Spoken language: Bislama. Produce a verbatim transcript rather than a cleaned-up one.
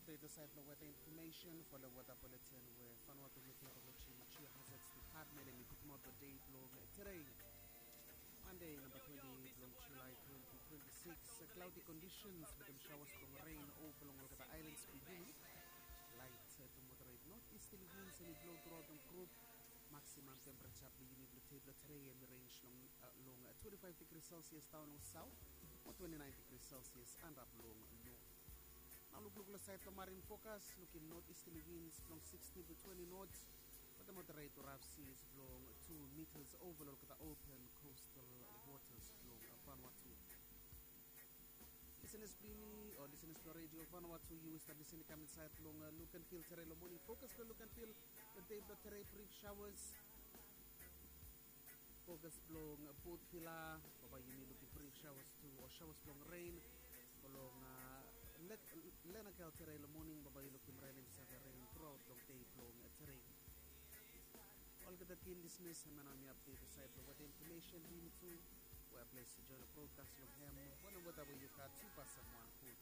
Update sait long weather information for the weather bulletin we Vanuatu Meteorology and Geohazards Department em i putumaot long dei blong today, Monday, number twenty blong July twenty twenty-six. Cloudy conditions wetem showers blong rain over long olgeta islands blong yumi. Light to moderate northeasterly winds em i blow throughout long group. Maximum temperature blong yumi blong dei blong today em i range long, uh, long uh, twenty-five degrees Celsius down long south, o twenty-nine degrees Celsius and up long north. Nao lukluk long sait blong marine forecast, lukim northeasterly winds blong sixteen to twenty knots, wetem moderate to rough seas blong two meters over long olgeta open coastal waters blong Vanuatu. Listeners blong yumi o listeners blong Radio Vanuatu, yu stap listening kam insait long uh, look and feel today long morning. Focus long look and feel long dei blong today, brief showers. Focus blong uh, both villa, baba yumi lukim brief showers tu o showers blong rain. Blong uh, Lenakel today long morning, baba yu lukim rain em save rain throughout long dei blong uh, today. Olgeta keen listeners, hemia nao mi update sait blong weather information blong yumi tu. We a ples i join long broadcast long hem. Wanem weather we yu gat, yu pasem wan gud